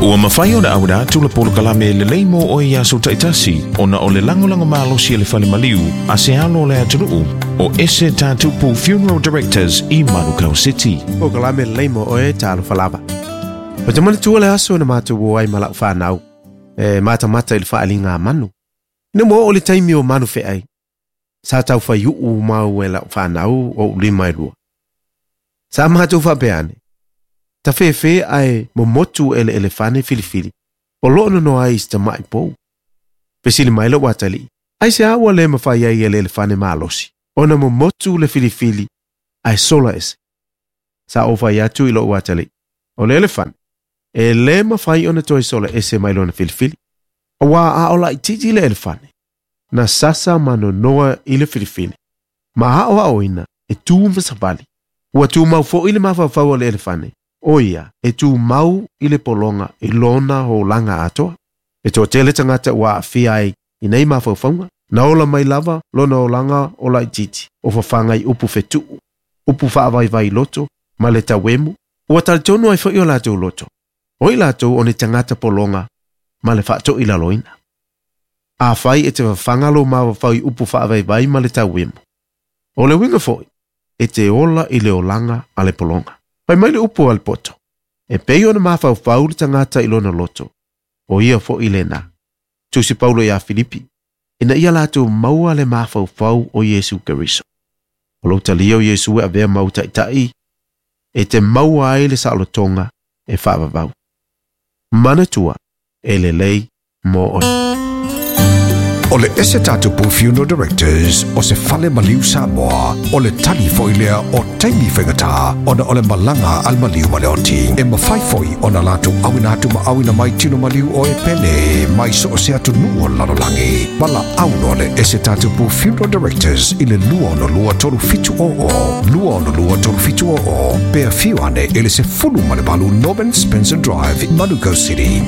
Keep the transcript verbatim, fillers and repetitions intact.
Ua mafai ona auina atu le polokalame lelei mo oe i aso taitasi ona o le lagolago malosi e le fale maliu a se alo o le atunuu o Ese Tatupu Funeral Directors i Manukau City. Polokalame lelei mo oe talofa lava. O te manatua le aso na matou o ai ma lau fanau e matamata i le faaaliga a manu. Ina ua oo le taimi o manu feai, sa taufaiuu mau e lau fanau o ou lima e lua. Sa matou faapea ane, tafefe ae momotu e le elefane filifili, o loo nonoa ai i se tamai pou. Fesili mai lou atalii, aisea ua le mafai ai e le elefane malosi, ona momotu le filifili ae sola ese. Sa ou fai atu i lou atalii, o le elefane, e le mafai ona toe sola ese mai lona filifili. Auā a o laitiiti le elefane, na sasa ma nonoa i le filifili, ma aoaoina e tu ma savali. Ua tumau foi le mafaufau o le elefane, o ia e tumau i le pologa i lona olaga atoa. E toatele tagata ua aafia ai i nei mafaufauga, na ola mai lava lona olaga o laitiiti, o fafaga i upu fetuu, upu faavaivai loto, ma le tauemu, ua talitonu ai foi o latou loto, o i latou o ni tagata pologa ma le faatoilaloina. Afai e te fafaga lou mafaufau i upu faavaivai ma le tauemu, o le uiga foi, e te ola i le olaga a le pologa. Fai mai le upu a le poto, e pei ona mafaufau le tagata i lona loto, o ia foi lena. Tusi Paulo ia Filipi, ina ia latou maua le mafaufau o Iesu Keriso. O lou talia o Iesu e avea ma ou taitai, e te maua ai le saolotoga e faavavau. Manatua, e lelei mo oe. O le Ese Tatupu Funeral Directors o se fale maliu Samoa, o le tali foi lea o taimi faigata ona o le malaga a le maliu ma le oti. E mafai foi ona latou auina atu ma auina mai tino maliu o e pele mai so o se atunuu o le lalolagi. Valaau loa le Ese Tatupu Funeral Directors i le lua ono lua tolu fitu o o, lua ono lua tolu fitu o o, pe afio ane i le sefulu ma le valu Norman Spencer Drive, Manukau City.